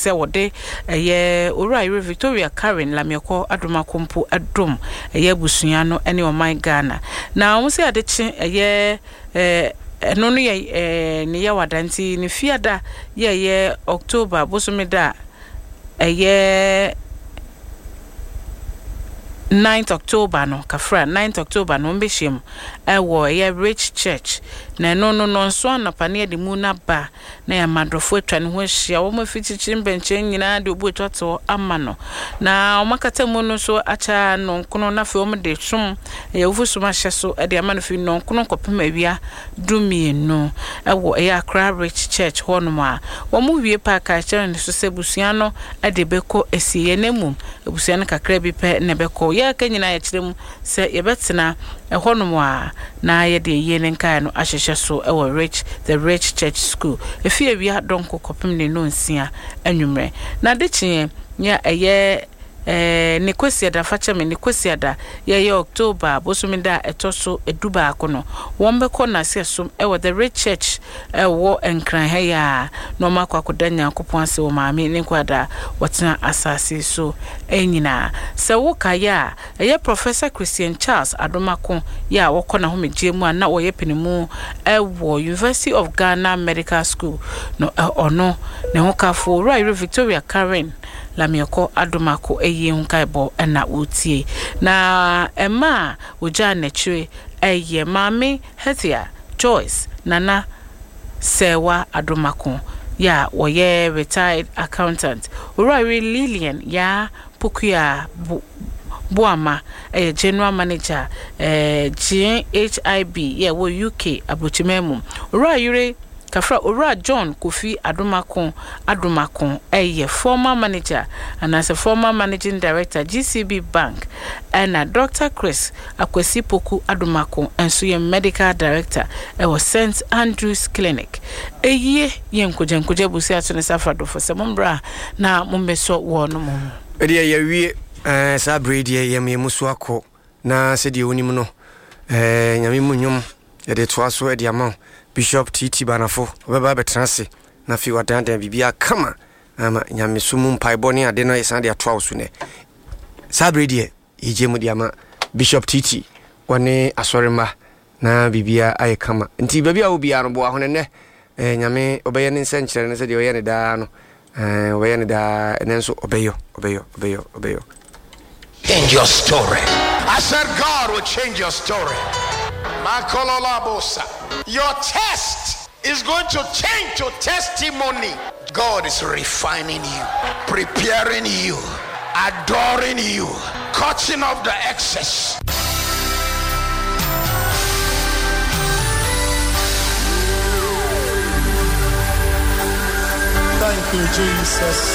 sɛ wɔde ɛyɛ Owura Yere Victoria Karen Lamiɛkɔ Adomako mpo dom ɛyɛ abusua no ne ɔman Ghana. Na wɔn sɛ ade kye ɛyɛ ɛno no yɛ ne Yawada nti ne Fiada yɛ ɛyɛ October bosome da a ɛyɛ Ninth October no, kafra, Ninth October no, wɔbɛhyia mu wɔ ɛyɛ Rich Church, na ɛno no nnɔnson anɔpa na yɛde mu no aba na yɛama adɔfoɔ atwa ne ho ahyia, wɔn afi kyikyiri mbɛnkyɛn nyinaa de obu atwa toɔ ama no, na wɔn akata mu no nso akyɛ nnɔnkono, na afei wɔn de som, ɛyɛ awufo som ahyɛ so de ama no fi nnɔnkono kɔpem awia dumienu wɔ ɛyɛ Accra Rich Church hɔ nom a wɔn wie pɛ a ka kyerɛ no so sɛ abusua no de bɛkɔ asieɛ na mmom abusua no kakra bi pɛ na ɛbɛkɔ. Yɛ aka nyinaa yɛkyerɛ mu sɛ yɛbɛtena ɛhɔ nom a na yɛde ayie no nkaeɛ no ahyehyɛ so wɔ Rich The Rich Church School ɛfiri awia dɔnko kɔpem ne nnɔnsia anwummerɛ. Na adekyeɛ yɛ ɛyɛ Ɛɛ, ne Kwasiada, fa kyɛ me, ne Kwasiada, yɛ ɛyɛ October bosome da a ɛtɔ so dubaako no, wɔbɛkɔ Naseɛsom wɔ The Rich Church ɛwɔ Nkran ha yi ara, na wɔakɔ akɔda Nyankopɔn ase wɔ maame ne nkwadaa a wɔtena asase so nyinaa. Sɛ wo kaeɛ a, ɛyɛ Professor Christian Charles Adomako yɛ a wɔkɔ n'ahomegyeɛ mu a na ɔyɛ panimu wɔ University of Ghana Medical School no, ɔno, ne hokafoɔ, Owura Yere Victoria Karen Lamiɛkɔ Adomako ayie ho nkaebɔ na woretie. Na mma a wɔgyaa n'akyire yɛ Maame Hethia Joyce Nana Serwaa Adomako yɛ a ɔyɛ retired accountant, Owurayere Lilian Yaa Pokuaa Boamah yɛ General Manager GHIB yɛ ɛwɔ UK aburokyiman mu, Owurayere Kafra Owura John Kofi Adomako Adomako yɛ former manager anaasɛ former managing director GCB Bank ɛna Doctor Chris Akwasi Poku Adomako nso yɛ medical director wɔ Saint Andrews Clinic. Eyie yɛ nkogyankogya abusua to ne sa fra dɔfo sɛ mommra na mommɛsɔ wɔn mo. Ɛdeɛ yɛawie eh, saa berɛ yi deɛ yɛm yɛn mu so akɔ na sɛdeɛ wonim no eh, Nyame mu nnwom Yɛde toa so de ama wo. Bishop TT Banafo, ɔbɛba abɛtena ase na afei wadandan biribiara kama ama nyamesom mu mpaebɔ ne ade no yɛsan de atoa wo so nɛ. Saa bere deɛ yɛgye mu de ama Bishop TT wɔne asɔremma na biribiara ayɛ kama. Nti baabi a wɔ biara no boa ho no nnɛ. Eh, Nyame ɔbɛyɛ ne nsɛnkyerɛnne no sɛdeɛ ɔyɛ ne daa no. Eh, ɔbɛyɛ no daa, ɛnɛ nso ɔbɛyɔ, ɔbɛyɔ, ɔbɛyɔ, ɔbɛyɔ. Change your story. I said God will change your story. Makololabosa. Your test is going to change to testimony. God is refining you, preparing you, adoring you, cutting off the excess. Thank you, Jesus.